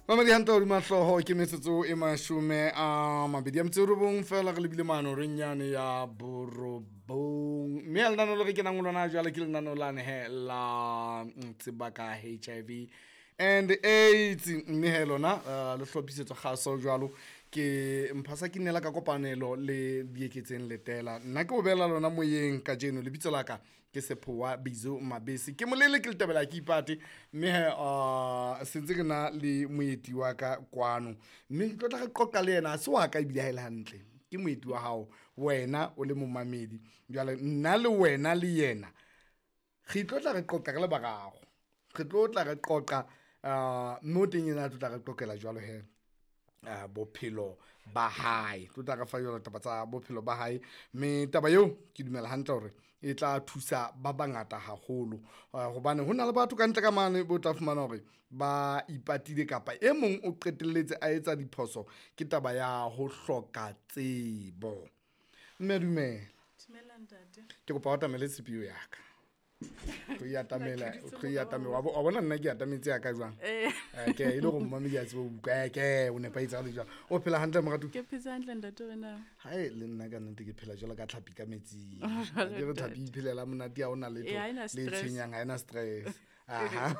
Mamedi hantle hodima hlooho ke metsotso e 29 feela re lebile mano reng yane ya 9. Mme ya lenaneo le re kenang ho lona jwale ke lenaneo lane he la tseba ka HIV and AIDS. Mme he lona le hlophisetswa kgaso jwalo ke Mphasa ke nnela ka kopanelo le Dieketseng Letela. Nna ke o beela lona moyeng kajeno, lebitso la ka ke Sephowa Bizo Mabese, ke molele ke letabela ke ipate. Mme he sentse ke na le moeti wa ka kwano, mme ke tlo tla re qoqa le yena. Ha se wa ka ebile ha e le hantle ke moeti wa hao, wena o le momamedi. Jwale nna le wena le yena re tlo tla re qoqa re le bararo, re tlo tla re qoqa mme o teng yena a tlo tla re qoqela jwalo he bophelo ba hae, tlo tla re fa jwalo taba tsa bophelo ba hae. Mme taba eo ke dumela hantle hore e tla thusa ba bangata haholo, hobane ho na le batho ka ntle ka mane bo tla fumana hore ba ipatile kapa e mong o qetelletse a etsa diphoso ke taba ya ho hloka tsebo. Mme dumela. Dumela ntate. Ke kopa o atamele tshepiyo ya ka. Tlo e atamela, tlo e atamela. Wa bona nna ke atametse ya ka jwang? Ke e le hore mmamedi a tsebe ho utlwa. Ke o nepahetse ha le jwang. O phela hantle moratuwa? Ke phetse hantle ntate, wena? Hae le nna ka nnete ke phela jwalo ka tlhapi ka metsing. Ke re tlhapi iphelela monate, ha hona letho ha ena le stress. Tshwenyang, ha ena stress. Aha.